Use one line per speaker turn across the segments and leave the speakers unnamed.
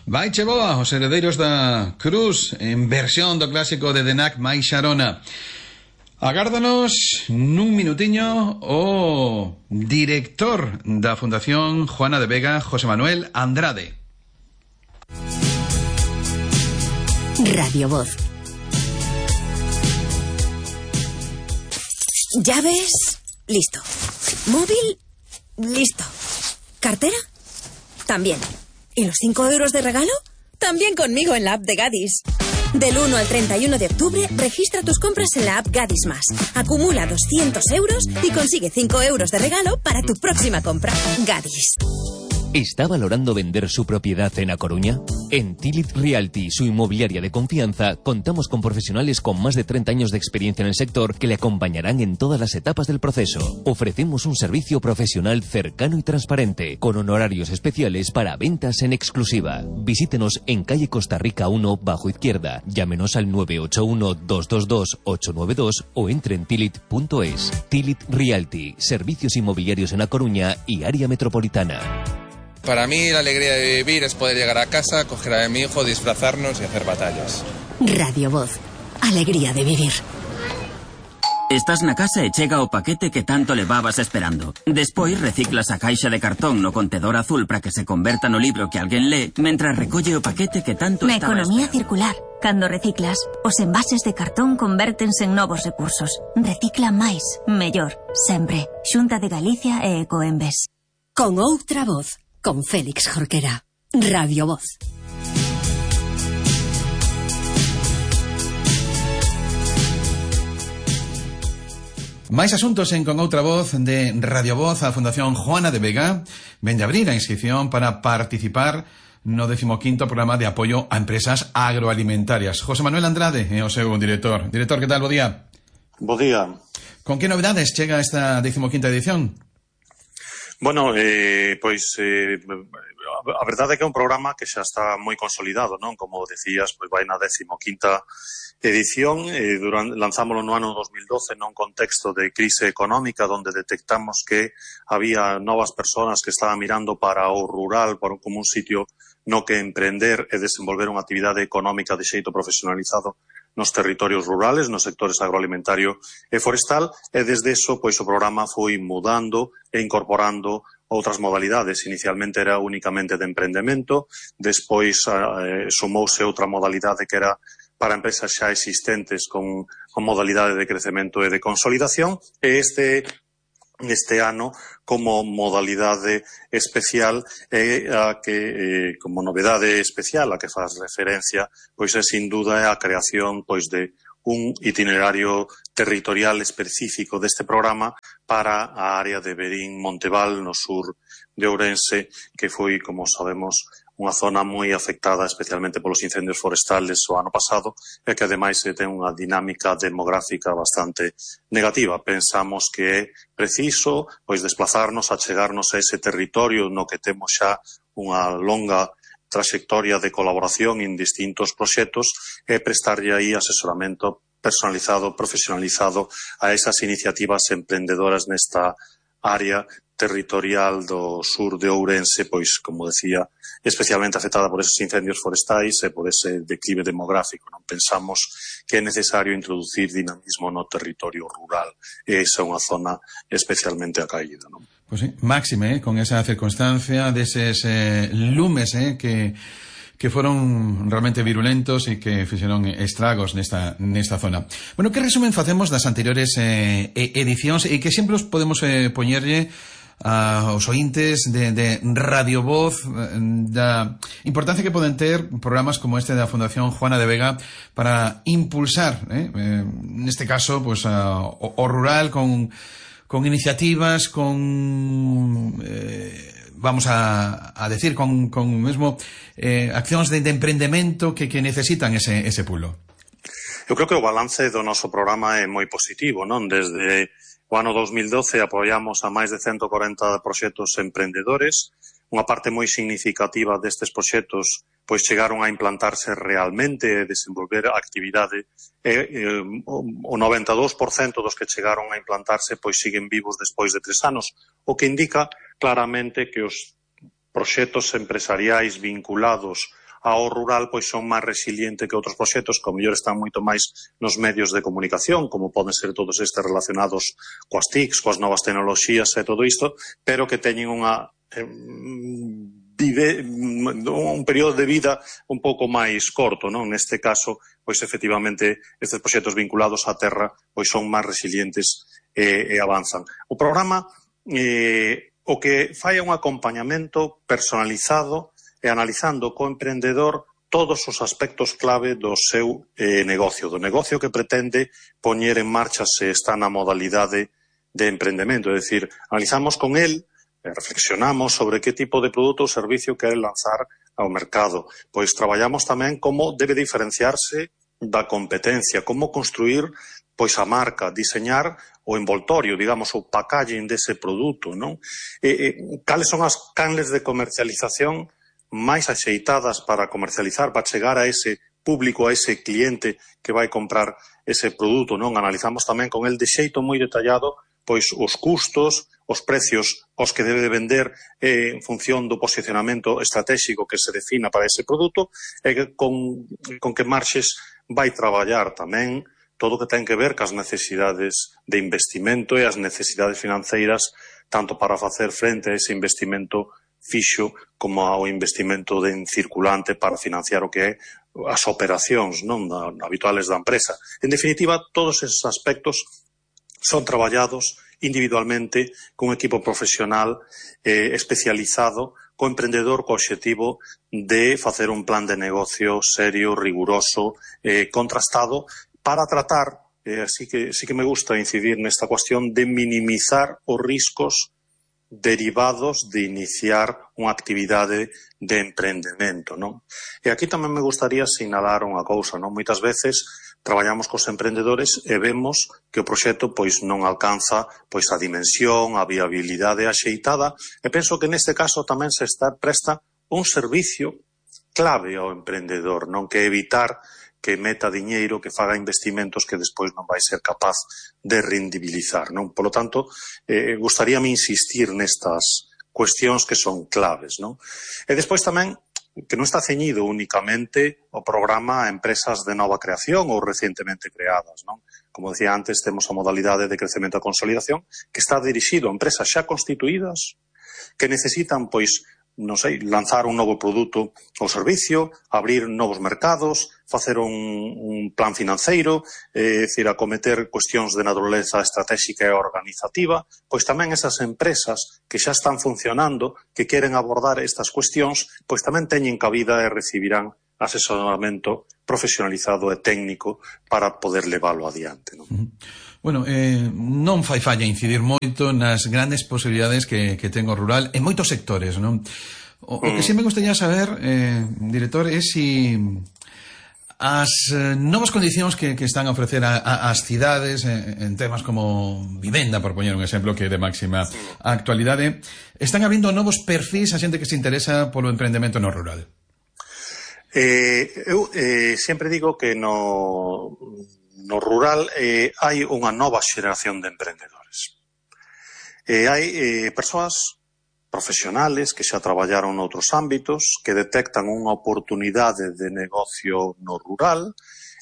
Vai che boa, os heredeiros da Cruz, en versión do clásico de Denac máis Xarona. Agárdanos nun minutiño o director da Fundación Juana de Vega, José Manuel Andrade.
Radio Voz. Llaves, listo. Móvil, listo. ¿Cartera? También. ¿Y los 5 euros de regalo? También conmigo en la app de Gadis. Del 1 al 31 de octubre, registra tus compras en la app Gadis Más. Acumula 200 euros y consigue 5 euros de regalo para tu próxima compra. Gadis.
¿Está valorando vender su propiedad en A Coruña? En Tilit Realty, su inmobiliaria de confianza, contamos con profesionales con más de 30 años de experiencia en el sector que le acompañarán en todas las etapas del proceso. Ofrecemos un servicio profesional cercano y transparente, con honorarios especiales para ventas en exclusiva. Visítenos en calle Costa Rica 1, bajo izquierda. Llámenos al 981-222-892 o entre en tilit.es. Tilit Realty, servicios inmobiliarios en A Coruña y área metropolitana.
Para mí la alegría de vivir es poder llegar a casa, coger a mi hijo, disfrazarnos y hacer batallas.
Radio Voz. Alegría de vivir.
Estás na casa e chega o paquete que tanto levabas esperando. Despois reciclas a caixa de cartón no contedor azul para que se converta no libro que alguén lee, mentras recolle o paquete que tanto
Na
estaba
economía
esperando.
circular, cando reciclas, os envases de cartón convértense en novos recursos. Recicla máis, mellor, sempre. Xunta de Galicia e Ecoembes.
Con outra voz. Con Félix Jorquera. Radio Voz.
Máis asuntos en Con outra voz de Radio Voz. A Fundación Juana de Vega vende abrir a inscripción para participar no 15º programa de apoio a empresas agroalimentarias. José Manuel Andrade é o seu director. Director, que tal? Bo día.
Bo día.
Con que novedades chega esta 15ª edición?
Bueno, a verdade é que é un programa que xa está moi consolidado, non? Como decías, pois vai na 15ª edición, lanzámoslo no ano 2012 nun contexto de crise económica onde detectamos que había novas persoas que estaban mirando para o rural como un sitio no que emprender e desenvolver unha actividade económica de xeito profesionalizado nos territorios rurales, nos sectores agroalimentario e forestal, e desde eso, pois, o programa foi mudando e incorporando outras modalidades. Inicialmente era únicamente de emprendemento, despois sumouse outra modalidade que era para empresas xa existentes con modalidade de crecemento e de consolidación, e este ano, como modalidade especial, a que, como novedade especial a que faz referencia, pois é sin duda a creación pois de un itinerario territorial específico deste programa para a área de Verín Monteval, no sur de Ourense, que foi, como sabemos, unha zona moi afectada especialmente polos incendios forestales o ano pasado e que ademais ten unha dinámica demográfica bastante negativa. Pensamos que é preciso pois desplazarnos, achegarnos a ese territorio no que temos xa unha longa traxectoria de colaboración en distintos proxectos e prestarlle aí asesoramento personalizado, profesionalizado a esas iniciativas emprendedoras nesta área territorial do sur de Ourense, pois, como decía, especialmente afectada por esos incendios forestais e por ese declive demográfico. Non pensamos que é necesario introducir dinamismo no territorio rural, e esa é unha zona especialmente acaída, non?
Pois sí, máxime, con esa circunstancia deses lumes que foron realmente virulentos e que fixeron estragos nesta zona. Bueno, que resumen facemos das anteriores edicións e que sempre os podemos poñerlle aos ointes de Radio Voz da importancia que poden ter programas como este da Fundación Juana de Vega para impulsar, neste caso, pues, o rural con iniciativas, con vamos a decir, con mesmo accións de emprendemento que necesitan ese pulo.
Eu creo que o balance do noso programa é moi positivo, non? Desde o ano 2012 apoiamos a máis de 140 proxectos emprendedores. Unha parte moi significativa destes proxectos pois chegaron a implantarse realmente e desenvolver actividade e o 92% dos que chegaron a implantarse pois siguen vivos despois de 3 anos, o que indica claramente que os proxectos empresariais vinculados ao rural pois son máis resilientes que outros proxectos que ao mellor están moito máis nos medios de comunicación, como poden ser todos estes relacionados coas TICs, coas novas tecnoloxías e todo isto, pero que teñen un período de vida un pouco máis corto, non? Neste caso, pois efectivamente, estes proxectos vinculados á terra pois son máis resilientes e avanzan. O programa o que fai un acompañamento personalizado e analizando co emprendedor todos os aspectos clave do seu negocio, do negocio que pretende poñer en marcha se está na modalidade de emprendemento. É dicir, analizamos con el, reflexionamos sobre que tipo de produto ou servicio quere lanzar ao mercado. Pois traballamos tamén como debe diferenciarse da competencia, como construir pois a marca, diseñar o envoltorio, digamos, o packaging dese produto, non? Cales son as canles de comercialización máis axeitadas para comercializar, para chegar a ese público, a ese cliente que vai comprar ese produto, non? Analizamos tamén con el de xeito moi detallado pois os custos, os precios aos que debe vender en función do posicionamento estratégico que se defina para ese produto e con que marxes vai traballar tamén todo o que ten que ver cas necesidades de investimento e as necesidades financeiras tanto para facer frente a ese investimento fixo como ao investimento en circulante para financiar o que é as operacións non habituales da empresa. En definitiva, todos esos aspectos son traballados individualmente cun equipo profesional especializado co emprendedor co obxectivo de facer un plan de negocio serio, riguroso, contrastado para tratar, así que sí que me gusta incidir nesta cuestión de minimizar os riscos derivados de iniciar unha actividade de emprendemento, non? E aquí tamén me gustaría sinalar unha cousa, non? Moitas veces traballamos cos emprendedores e vemos que o proxecto pois non alcanza pois a dimensión, a viabilidade axeitada, e penso que neste caso tamén se presta un servicio clave ao emprendedor, non? Que evitar que meta diñeiro, que faga investimentos que despois non vai ser capaz de rendibilizar, non? Por lo tanto, gustaríame insistir nestas cuestións que son claves, non? E despois tamén que non está ceñido únicamente o programa a empresas de nova creación ou recientemente creadas, non? Como decía antes, temos a modalidade de crecemento e consolidación que está dirixido a empresas xa constituídas que necesitan, pois, non sei, lanzar un novo produto ou servicio, abrir novos mercados, facer un plan financeiro, decir, acometer cuestións de naturaleza estratégica e organizativa, pois tamén esas empresas que xa están funcionando, que queren abordar estas cuestións, pois tamén teñen cabida e recibirán asesoramento profesionalizado e técnico para poder leválo adiante, non?
Bueno, non fai falla incidir moito nas grandes posibilidades que ten o rural en moitos sectores, non? O que sí me gustaría saber, director, é si as novas condicións que están a ofrecer as cidades en temas como vivenda, por poñer un exemplo que é de máxima actualidade, están abrindo novos perfis a xente que se interesa polo emprendemento no rural.
Eu sempre digo que no rural hai unha nova xeración de emprendedores. Hai persoas profesionales que xa traballaron noutros ámbitos, que detectan unha oportunidade de negocio no rural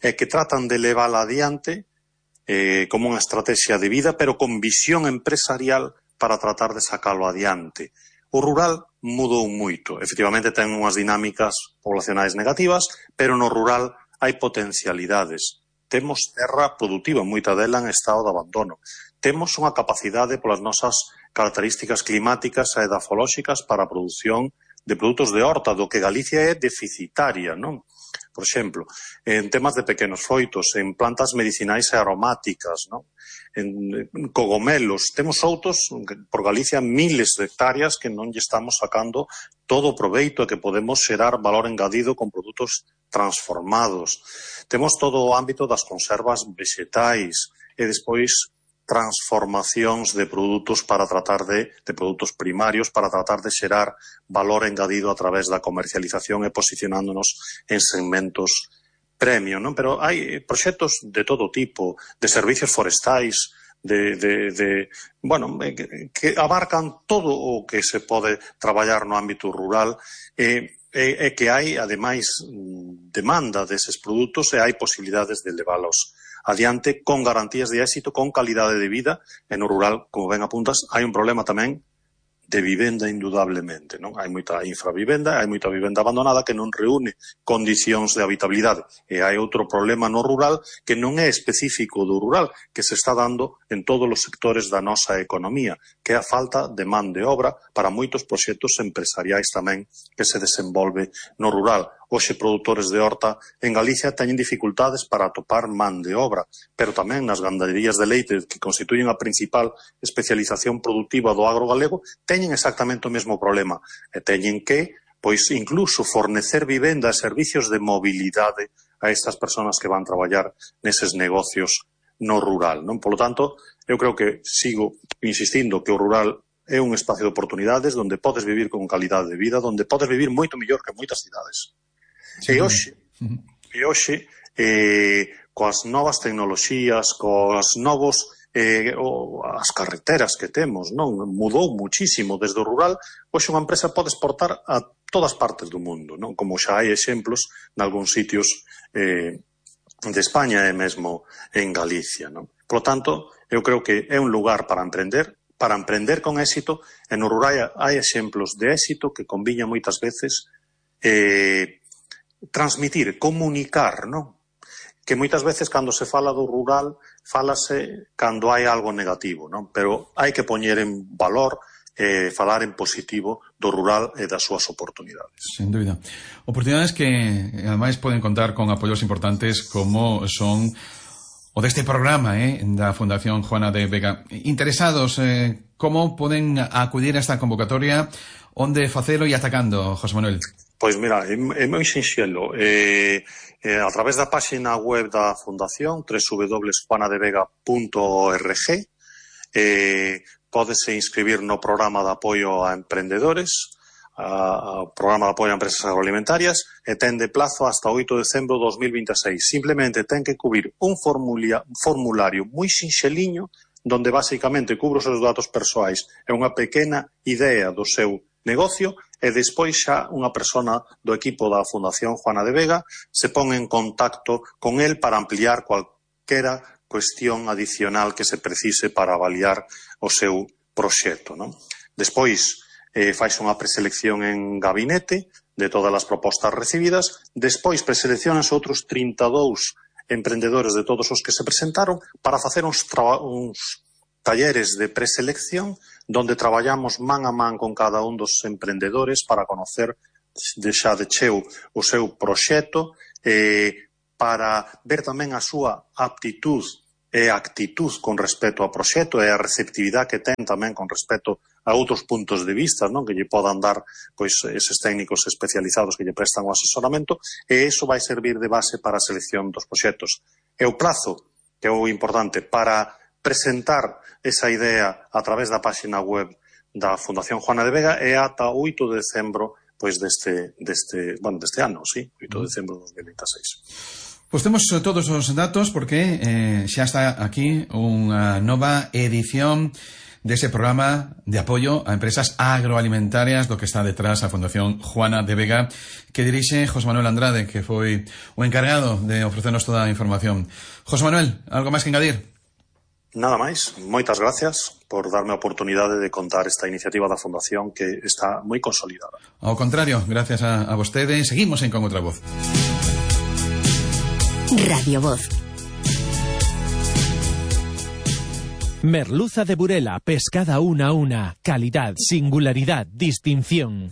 e que tratan de levala adiante como unha estrategia de vida, pero con visión empresarial para tratar de sacalo adiante. O rural mudou moito. Efectivamente, ten unhas dinámicas poblacionais negativas, pero no rural hai potencialidades. Temos terra productiva, moita dela en estado de abandono. Temos unha capacidade polas nosas características climáticas e edafolóxicas para a produción de produtos de horta, do que Galicia é deficitaria, non? Por exemplo, en temas de pequenos froitos, en plantas medicinais e aromáticas, non? En cogomelos, temos outros, por Galicia, miles de hectáreas que non lle estamos sacando todo o proveito e que podemos xerar valor engadido con produtos transformados. Temos todo o ámbito das conservas vegetais e despois transformacións de produtos para tratar de produtos primarios para tratar de xerar valor engadido a través da comercialización e posicionándonos en segmentos premium, non? Pero hai proxectos de todo tipo, de servicios forestais, que abarcan todo o que se pode traballar no ámbito rural. é que hai, ademais, demanda deses produtos e hai posibilidades de leválos adiante con garantías de éxito, con calidade de vida. E no rural, como ben apuntas, hai un problema tamén de vivenda, indudablemente, non? Hai moita infravivenda, hai moita vivenda abandonada que non reúne condicións de habitabilidade. E hai outro problema no rural que non é específico do rural, que se está dando en todos os sectores da nosa economía, que é a falta de man de obra para moitos proxectos empresariais tamén que se desenvolve no rural. Hoxe, produtores de horta en Galicia teñen dificultades para atopar man de obra, pero tamén nas gandaderías de leite, que constituyen a principal especialización productiva do agro galego, teñen exactamente o mesmo problema. E teñen que, pois, incluso fornecer vivenda e servicios de mobilidade a estas persoas que van traballar neses negocios no rural, non? Polo tanto, eu creo que sigo insistindo que o rural é un espacio de oportunidades onde podes vivir con calidade de vida, onde podes vivir moito mellor que moitas cidades. Sí. E hoxe, coas novas tecnoloxías, coas novos as carreteras que temos, non? Mudou muchísimo desde o rural. Hoxe unha empresa pode exportar a todas partes do mundo, non? Como xa hai exemplos nalgúns sitios de España e mesmo en Galicia, non? Por lo tanto, eu creo que é un lugar para emprender con éxito, e no rural hai exemplos de éxito que conviña moitas veces transmitir, comunicar, non? Que moitas veces cando se fala do rural, fálase cando hai algo negativo, non? Pero hai que poñer en valor falar en positivo do rural e das súas oportunidades.
Sin dúbida. Oportunidades que, ademais, poden contar con apoios importantes como son o deste programa da Fundación Juana de Vega. Interesados, como poden acudir a esta convocatoria? Onde facelo e atacando, José Manuel?
Pois mira, é moi sinxelo. A través da página web da Fundación, www.juanadevega.org, pódese inscribir no programa de apoio a emprendedores, ao programa de apoio a empresas agroalimentarias, e ten de plazo hasta 8 de decembro de 2026. Simplemente ten que cubrir un formulario moi sinxeliño, donde basicamente cubre os seus datos persoais e unha pequena idea do seu negocio, e despois xa unha persona do equipo da Fundación Juana de Vega se pon en contacto con el para ampliar cualquera cuestión adicional que se precise para avaliar o seu proxecto, non? Despois faise unha preselección en gabinete de todas as propostas recibidas, despois preseleccionan outros 32 emprendedores de todos os que se presentaron para facer uns talleres de preselección donde traballamos man a man con cada un dos emprendedores para conocer xa de cheo o seu proxecto, para ver tamén a súa aptitud e actitud con respecto ao proxecto e a receptividade que ten tamén con respecto a outros puntos de vista, non? Que lle podan dar pois eses técnicos especializados que lle prestan o asesoramento, e iso vai servir de base para a selección dos proxectos. E o prazo, que é o importante, para presentar esa idea a través da página web da Fundación Juana de Vega é ata 8 de decembro pois deste ano, sí, 8 de decembro de 2026.
Pois temos todos os datos porque xa está aquí unha nova edición dese programa de apoio a empresas agroalimentarias do que está detrás a Fundación Juana de Vega, que dirixe José Manuel Andrade, que foi o encargado de ofrecernos toda a información. José Manuel, algo máis que engadir?
Nada máis, moitas gracias por darme a oportunidade de contar esta iniciativa da Fundación que está moi consolidada.
Ao contrario, gracias a vostede, seguimos en Con Outra Voz.
Radio Voz. Merluza de Burela, pescada una a una, calidad, singularidad, distinción.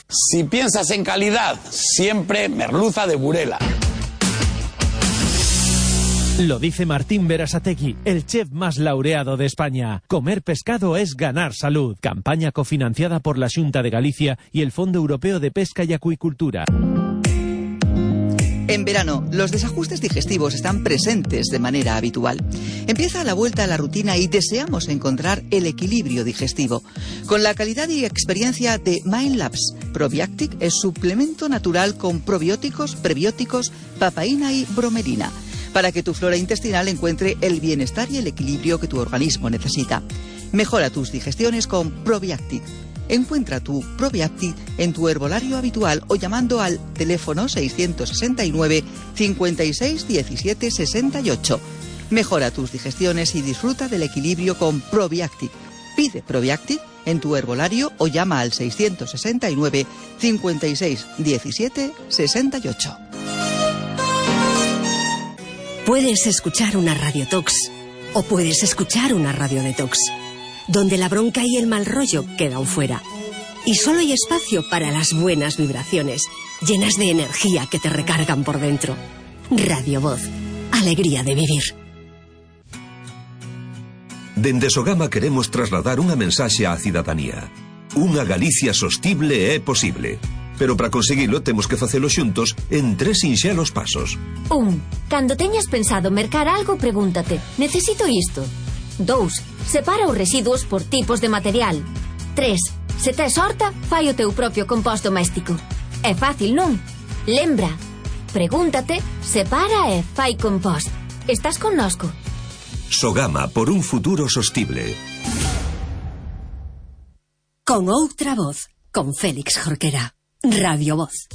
Si piensas en calidad, siempre merluza de Burela.
Lo dice Martín Berasategui, el chef más laureado de España. Comer pescado es ganar salud. Campaña cofinanciada por la Xunta de Galicia y el Fondo Europeo de Pesca y Acuicultura.
En verano, los desajustes digestivos están presentes de manera habitual. Empieza la vuelta a la rutina y deseamos encontrar el equilibrio digestivo. Con la calidad y experiencia de Mindlabs, Probiactic es suplemento natural con probióticos, prebióticos, papaína y bromelina, para que tu flora intestinal encuentre el bienestar y el equilibrio que tu organismo necesita. Mejora tus digestiones con Probiactic. Encuentra tu Probiacti en tu herbolario habitual o llamando al teléfono 669 56 17 68. Mejora tus digestiones y disfruta del equilibrio con Probiacti. Pide Probiacti en tu herbolario o llama al 669 56 17 68.
Puedes escuchar una radiotox o puedes escuchar una radiodetox, donde la bronca y el mal rollo quedan fuera. Y solo hay espacio para las buenas vibraciones, llenas de energía que te recargan por dentro. Radio Voz, alegría de vivir.
Dende Sogama queremos trasladar unha mensaxe á cidadanía. Unha Galicia sostible é posible. Pero para conseguilo temos que facelo xuntos en 3 sinxelos pasos.
1. Cando teñas pensado mercar algo, pregúntate: necesito isto? 2. Separa os residuos por tipos de material. 3. Se tes horta, fai o teu propio compost doméstico. É fácil, non? Lembra, pregúntate, separa e fai compost. Estás connosco?
Sogama, por un futuro sostible.
Con outra voz, con Félix Jorquera. Radio Voz.